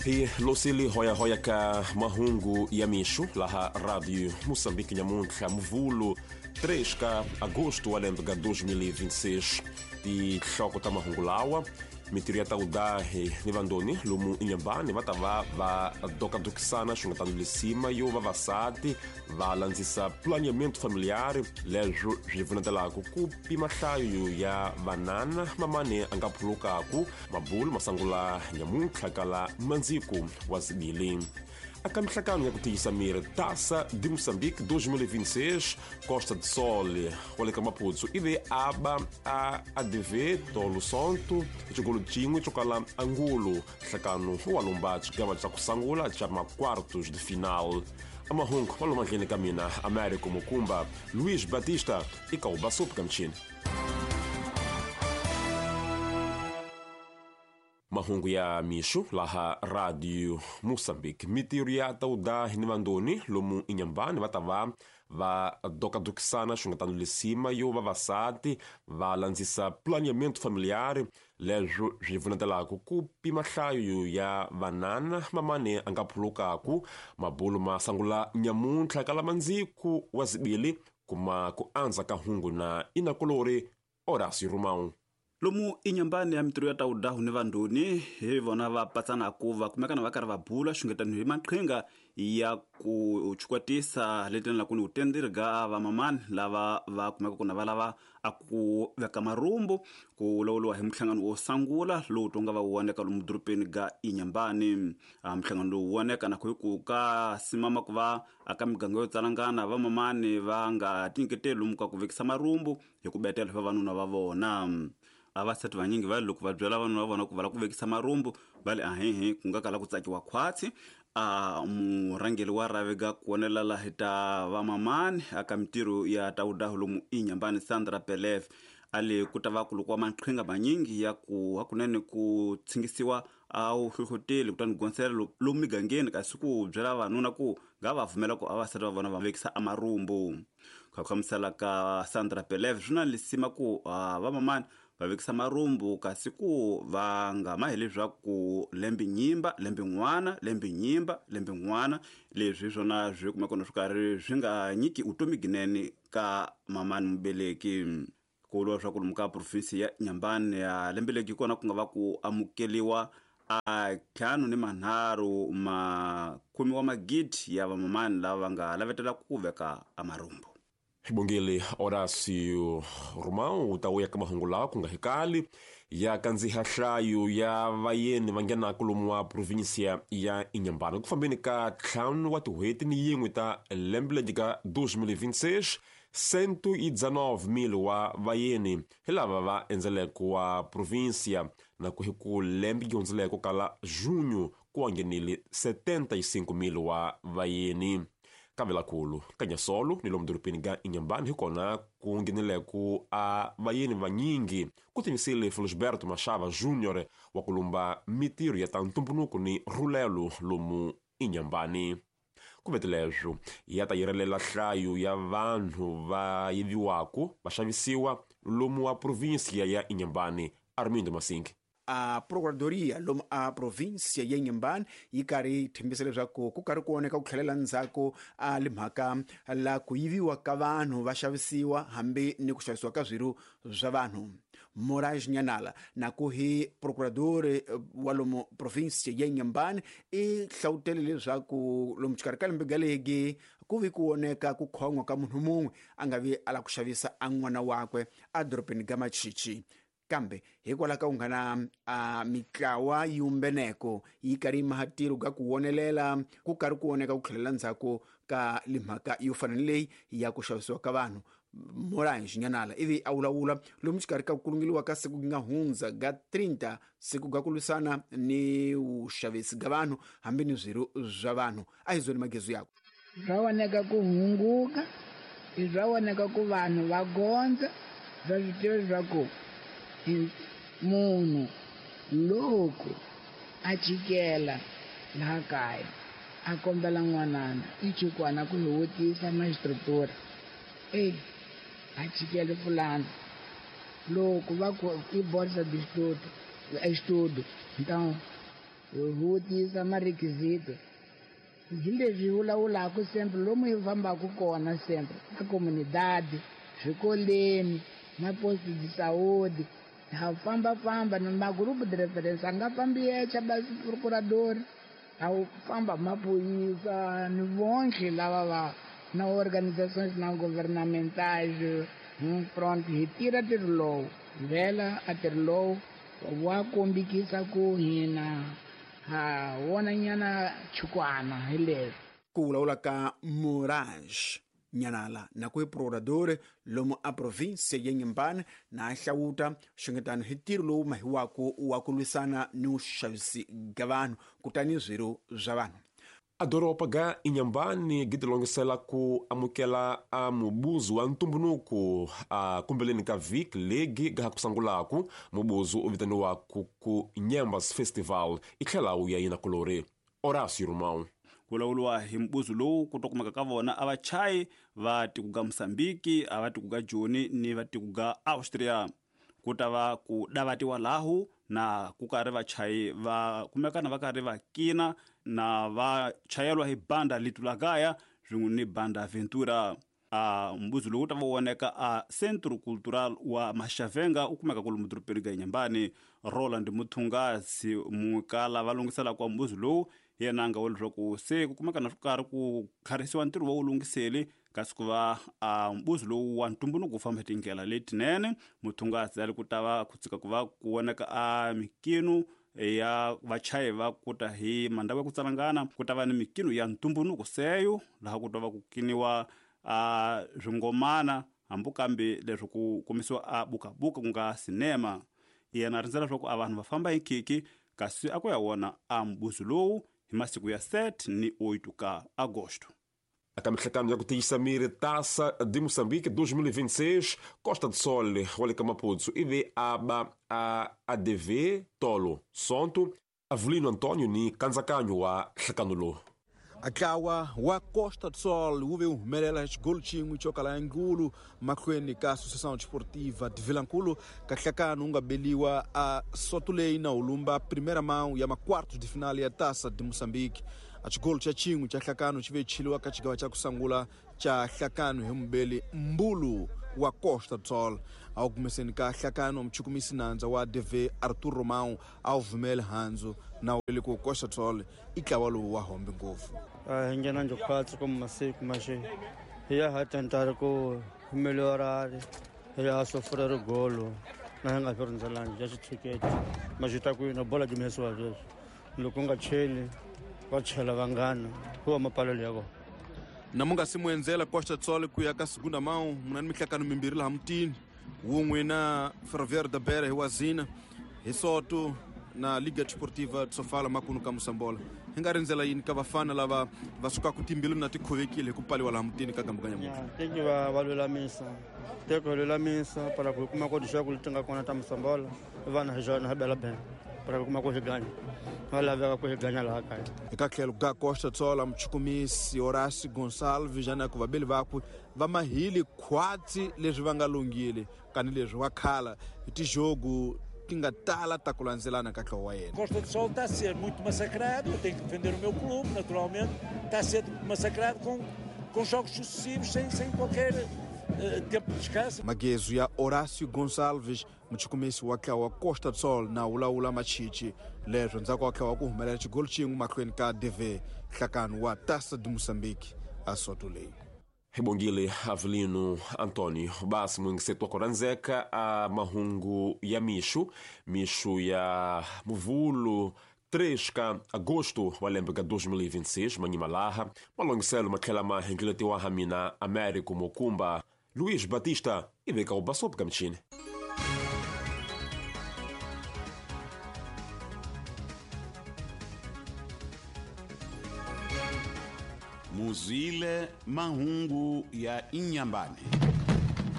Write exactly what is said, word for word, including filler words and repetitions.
Hi losili hoya-hoya ka mahungu ya mixo laha Radio Moçambique nyamuntlha Muvulu três ka agosto wa lembe ka dois mil e vinte e seis. Tinhloko ta mahungu lawa mitirho ya tawudahi ni vandoni lomu Inhambane va ta va va dokadokisana xungetano lisima yo vavasati va landzisa planeamento familiar leswo swi pfunetelaka ku pima nhlayo ya vanana mamane a nga phulukaku mabulu masangula nyamuntlha kala mandziko wa zibili. A mihlangano ya ku tiyisa miri Taça de Moçambique dois mil e vinte e seis, Costa do Sol, wa ka Maputo, ivi aba a A D V Tolo Sonto, xikolo xin'we xo kala Angulo, nhlangano wa lomba xigava xa ku sungula xa ma-quartos de final. Amahungu wa lomadleni ka mina Américo Mukumba, Luís Batista e Kauba Sopa Kamchini. Mahungu ya mixo laha Radio Moçambique. Mitirho ya tawudahi ni vandoni lomu Inhambane va ta va va dokadokisana xungetano lisima yo vavasati va landzisa planeamento familiar leswo swi pfunetelaka ku pima nhlayo ya vanana mamane a nga phulukaku mabulu ma sungula nyamuntlha kala mandziko wa zibili kuma ku andza ka hungu na inakolori Horácio Romão. Lomu Inhambane ya mitirho ya tawudahu ni vandoni hi vona va patsanaku va kumekana va karhi va bula xungetano hi maqhinga ya ku chukwatisa letini la ku ni utenderi ga vamamani lava va kumeka ku na va lava a ku veka marumbu ku lawuriwa hi muhlangano wo sungula lowu tonga va woneka lomu dorobeni ga Inhambane. A muhlangano lowu woneka na ku ku ka simama ku va aka miganga yo tsalangana vamamani va nga tinyiketeli lomu ka ku vekisa marumbu hi ku betela vavanuna va vona. Avasati vanyingi va loko va byela vanhu va vona ku va la ku vekisa marumbu va le ahehe ku nga kala ku tsakiwa khwatsi. A murhangeri wa ravega ku wonelela hi ta vamamani aka mitirho ya tawudahu lomu Inhambane Sandra Pelev a le ku ta va ku loko wa maqhinga manyingi ya ku hakunene ku tshingisiwa a wu hlohloteli kutani gonsela lomu migangeni kasi ku byela vanuna ku nga va pfumela ku avasati va vona va vekisa amarumbu. Ku hlamusela ka Sandra Pelev swi na lisima ku vamamani va vekisa marumbu kasi ku va nga ma hi leswaku lembe nyimba lembe n'wana lembe nyimba lembe n'wana leswi hi swona swi kumeka na swi karhi swi nga nyiki vutomi ginene ka mamani mubeleki. Ku vuriwa leswaku lomu ka provinsi ya Inhambane ya lembe legi kona ku nga va ku amukeliwa a ntlhanu ni manharhu makhume wa magidi ya vamamani lava nga lavetela ku veka amarumbu. Xibongile Horácio Romão u ta vuya ka mahungu lawa ku nga hikali ya kandziha nhlayo ya vayeni va nghenaka lomu wa provinsia ya Inhambane ku fambeni ka ntlhanu wa tin'hweti ni yin'we ta lembe leri ka dois mil e vinte e seis, cento e dezenove mil wa vayeni hi lava va endzeleke wa provinsia na ku hi ku lembe yi hundzeleke kala junho ku nghenile setenta e cinco mil wa vayeni. Kavelakulu Kanyasolo ni lomu dorobeni ga Inhambane hi kona ku ngheneleke a vayeni vanyingi ku timisile Felisberto Machava Júnior wa ku lumba mitirho ya ta ntumbuluko ni rhulelo lomu Inhambane. Ku veteleswo ya ta yirelela nhlayo ya vanhu va yiviwaku va xavisiwa lomu wa provinsia ya Inhambane. Armindo Masingi. A Procuradoria lomu a província ya Inhambane yi karhi yi tshembisa leswaku ku karhi ku oneka ku tlhelela ndzhaku a le mhaka la ku yiviwa ka vanhu va xavisiwa hambi ni ku xavisiwa ka swirho swa vanhu. Moraes Nhanala na ku hi procurador wa lomu província ya Inhambane i hlawutele leswaku lomu xikarhi ka lembe galegi ku vi ku oneka ku khon'wa ka munhu mun'we a nga vi a la ku xavisa a n'wana wakwe a dorobeni ga Machichi. Kambe hikwalaho ka ku nga na a mitlawa yumbeneko yi karhi yi maha ntirho ka ku wonelela ku karhi ku oneka ku tlhelela ndzhaku ka limhaka yo fana ni leyi ya ku xavisiwa ka vanhu. Moraes Nhanala ivi a vulavula lomu xikarhi ka ku kulungeliwa ka siku nga hundza ga trinta siku ga ku lwisana ni vuxavisi ga vanhu hambi ni swirho swa vanhu. A hi zoni magezu yakwe. Swa voneka ku hunguka, swa voneka ku vanhu va gondza, swa swi tiva leswaku munhu loko a chikela laha kaya a kombela n'wanana i chukwana ku hi vutisa maxistructura e a chikele fulani loko va ku i bolsa de estudo estudo então Hi vutisa marequisito hi leswi hi vulavulaka sempre lomu hi fambaka kona sempre ka comunidade, swikoleni, maposto de saúde, ha famba-famba ni magrupo de referência a nga fambi yexe basi procurador, a famba maphorisa ni vonke lava va na organizações não governamentais, pronto, hi tirha ntirho lowu vhela a ntirho lowu wa kombikisa ku hina ha wona nyana chukwana hi leswi. Ku vulavula ka Moraes Nyanala na ku procurador lomu a província ya Inhambane na hlawuta xungetano hi ntirho lowu mahiwako wa ku lwisana ni vuxavisi ga vanhu kutani swirho swa vanhu. A doroba ga Inhambane gitilongisela ku amukela a mubuzu wa ntumbunuku a kumbeleni ka vhiki legi ga kusangulaku mubuzu u vitaniwaku ku Nyambas Festival i tlhela wu ya yina kulori Horácio Romão. Ku vulavuriwa hi mbuzu lowu ku to kumeka ka vona a vachayi va tiko ga Mozambique, a va tiko ga Joni ni va tiko ga Austria. Ku ta va ku davatiwa lahu na ku karhi vachayi va kumekana va karhi va kina na va chayelwa hi banda Litulagaya swin'we ni banda Ventura. A mbuzu lowu ta va voneka a Centro Cultural wa Maxavenga u kumeka kwalomu dorobeni ga Inhambane. Roland Muthungasi mukala va lunghisela kwa mbuzu lowu yena a nga vula leswaku se ku kumeka na swo karhi ku kharisiwa ntirho wa wu lunghiseli kasi ku va a mbuzu lowu wa ntumbuluko wu famba hi tindlela letinene. Muthungasi a ri ku ta va ku tshika ku va ku voneka a mikino ya vachayi va kuta hi mandhawu ya ku tsalangana, ku ta va ni mikino ya ntumbuluko seyo laha ku ta va ku kiniwa a swingomana hambi kambe leswi ku komisiwa a bukabuka ku nga sinema. Yena a rindzela leswaku a vanhu va famba hi khikhi kasi a ku ya wona a mbuzu lowu hi masiku ya sete ni oito ka agosto. Aka mihlangano ya ku tiyisa miri Taça de Moçambique dois mil e vinte e seis, Costa do Sol, wa ka Maputo, ivi a ba a A D V Tolo Sonto, Avelino Antônio ni Kanzakanyo wa nhlangano lowu. Ntlawa wa Costa do Sol wu ve wu humelela xigolo xin'we xo kala nkulu mahlweni ka Associação Desportiva de Vilankulu ka nhlangano wu nga beliwa a Sotuleyi na Ulumba primeira mão ya maquartos de final ya Taça de Moçambique. A xigolo xa xin'we xa nhlangano xi ve chiliwa ka xigawa xa ku sungula xa nhlangano hi mubeli Mbulu wa Costa do Sol. A wu kumeseni ka nhlangano muchukumisi nandza wa D V Arthur Romão a wu vumeli handzu na wu ku Costa do Sol i ntlawa lowu wa hombe ngopfu. A hi nghena njhophatsi ku masiku maxe hi ya ha tentari ku melhorari hi ya sofrera rigolo na hi nga swi rindzelangi ya xitshuketi ma swi ta ku yini bola jimesiwa sweswi loko u nga cheli va chela vanghana ku va mapalelo ya vona. Na mu nga si mu endzela Costa do Sol ku ya ka segunda mão muna ni mihlangano mimbirhi laha mutini wun'we na Ferroviário da Beira hi Wazina hi Soto na Liga Desportiva de Sofala makunu ka Moçambola. Hi nga rindzela yini ka vafana lava va sukaka timbilu na tikhovekile hi ku pfaliwa laha mutini ka gambu ka nyamuntlha? Teki va va lulamisa teko hi lulamisa para ku hi kuma ku dixaku leti nga kona ta Moçambola vana hi xona hi bela bela para ku kuma ku hi ganya va laveka ku hi ganya laha kaya. Eka tlhelo ka Costa do Sol muchukumisi Horácio Gonçalves na ku vabeli vakwe va mahili khwatsi leswi va nga lunghile kani leswi wa khala hi tijogo ti nga tala ta ku landzelana ka ntlawa wa yena. Costa do Sol está a ser muito massacrado, eu tenho que defender o meu clube, naturalmente, está a ser massacrado com, com jogos sucessivos, sem, sem qualquer uh, tempo de descanso. Magezo ya Horácio Gonçalves muchukumisi wa ntlawa wa Costa do Sol na wulawula machichi leswo ndzhaku wa ntlawa ku humelela xigolo xin'we mahlweni ka D V nhlangano wa Taça de Moçambique a Soto leyi. Hibongile Avelino Antônio basi mwingisetu wakuranzeka a mahungu ya mixu mixu ya muvulu três ka agosto wa lembe ka dois mil e vinte e seis manyimalaha malongiselo matlhela ma hengeletiwa ha mina Américo Mokumba Luiz Batista iveka ubasopo ka michini. Muzile mahungu ya Inhambane.